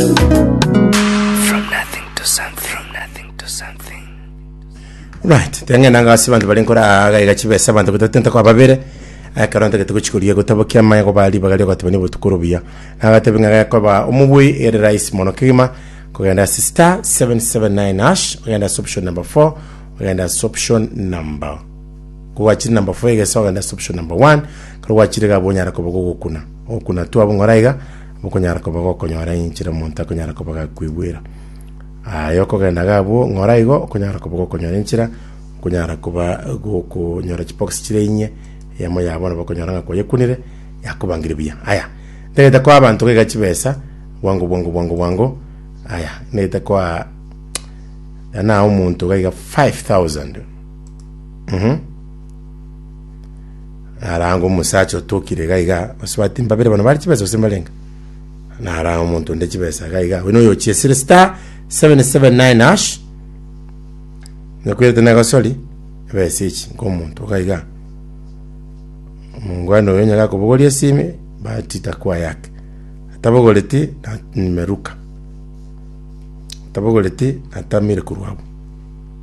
From nothing to something. From nothing to something. Right, teng'ena ng'a ase abanto bare nkora iga iga chibesa abanto gotatenta kwa babere ekero ntagete gochikoria gotabokia amaya goba ribaga riogoteba nibotuko orubuya nagatebi ng'a gekoba omobui ere rahisi mono kegima kogenda ase star 779 hash ogende ase option number 4 ogende ase option number kogwachire number 4 egesa ogende ase option number 1 ekero gwachire iga abwo onyara koba gogokuna ogokuna tu abwo ng'ora iga Okonyara koba gokonyora enchera omonto akonyara koba gakoigwera. Aye okogenda iga abwo ng'ora igo, okonyara koba gokonyora enchera, okonyara koba gokonyora chibox chire inye, eyemo yabo nabo okonyora ng'a kwayekunire, yakobangire buya. Aya, ntagete koa abanto iga chibesa, bwango bwango bwango bwango, aya, ntagete koa nae omonto iga iga 5000, mh. Narange omosacha otokire iga iga, basubati mbabere bono bare chibesa gose mbarenge? Narange omonto onde chibesa iga iga, oyo noyo ochiesire star 779 hash, nyakwirete na egosori, ebesa echi nka omonto iga iga. Omongwana oyo onye gakobogoria esimi, bahati itakuwa yake. Atabogoreti, na nimeruka. Atabogoreti, natamire korwa abwo.